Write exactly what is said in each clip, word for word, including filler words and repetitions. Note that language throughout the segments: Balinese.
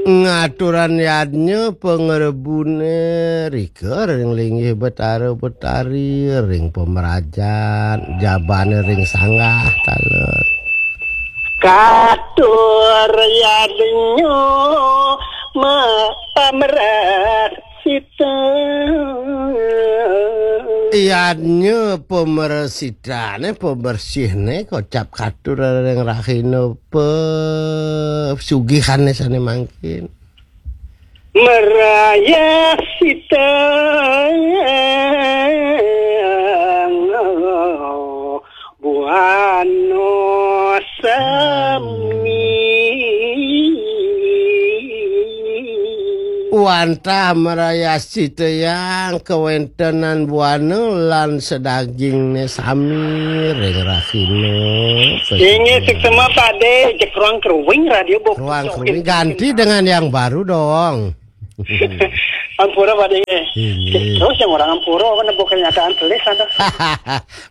Ngaturan yadnya pangrebune rika ring linggih Betara Betari, ring pamrajan, jabane ring sanggah taler. Katur yadnya ma-, pamresita. Yadnya pamresitane, pambersihne, kocap katur ring rahina pasugihane sane mangkin. Marayasita buana sami. Wantah marayasita yang kawentenan buana lan sadagingne sami ring rahina. Inggih, suksma, Pak De, jeg ruang kruwing radio bok. Ruang kruwing ganti dengan yang baru dong. Ampura, Pak De. Inggih. Terus yang orang ampura, kan bukan kenyataan tulis ada.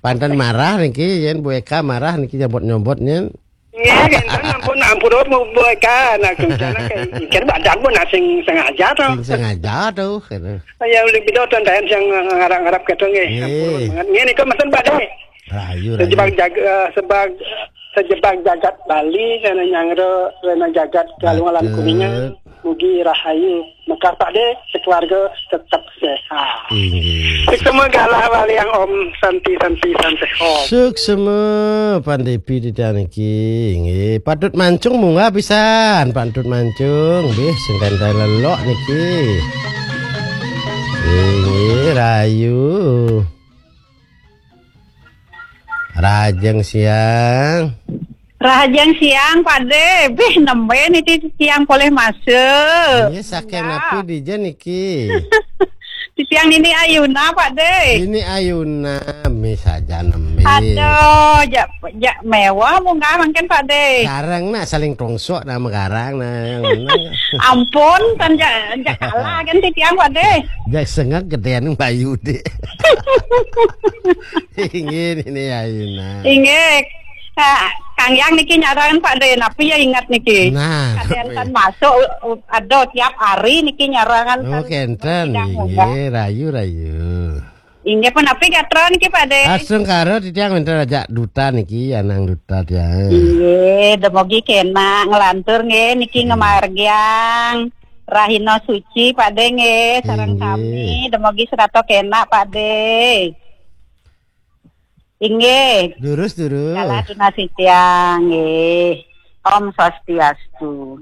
Panten marah niki, yen Bu Eka marah niki nyobot-nyobot nyen. Nggih, enten ampun, ampura Bu, Bu Eka, nah, rencana kan, kan badan pun asing sengaja to. Sing sengaja to, gitu. Ya, lebih do enten sing ngarap-ngarap gitu nggih. Nggih. Ampura banget. Nggih, nika mesen, Pak De. Rahayu, rahayu. Sejebak jaga, eh, sebag-, sejebak jagat Bali, karena nyangro, karena jagat Galungan lan Patut. Kuningan. Mugi rahayu. Mekar, Pak De, sekeluarga tetap sehat. Inggih. Suksma galah waliang Om Santi, Santi, Santi Om. Suksma, Pandepi titiang niki. Inggih, Patut Mancung munggah pisan, Patut Mancung. Nggih, sing tentai lelok niki. Inggih, rahayu. Rahajeng siang. Rahajeng siang, Pak De. Bih, nembe niki siang polih masuk. Iya, saking napi dija niki? Titiang Nini Ayuna, Pak De. Nini Ayuna, mi saja nembe. Aduh, jak, jak mewah munggah mangkin, Pak De. Garang nak saling tongsok nama garang nah, yang mana? Ampun, kan jak, jak kalah kan titiang, Pak De. Jak sengak gedean Bayu, Dek. Inggih, Nini Ayuna. Inggih. Kang Yang niki nyarangan, Pak De, napi ya ingat niki? Nah, kaden napi? Tan masuk, uh, ada tiap hari niki nyarangan. Oh, tan kenten, sidang inggih, munggah. Rayu, rayu. Inggih, pun napi gatra niki, Pak De? Astungkara titiang minta ajak duta niki, anang duta tiang. Inggih, demogi kena ngelantur nggih niki. Inggih. Ngemargiang rahina suci, Pak De, nggih, sareng. Inggih. Sami, demogi serata kena, Pak De. Inggih. Durus, durus. Kala tunasi tiang, nggih. Om Swastiastu.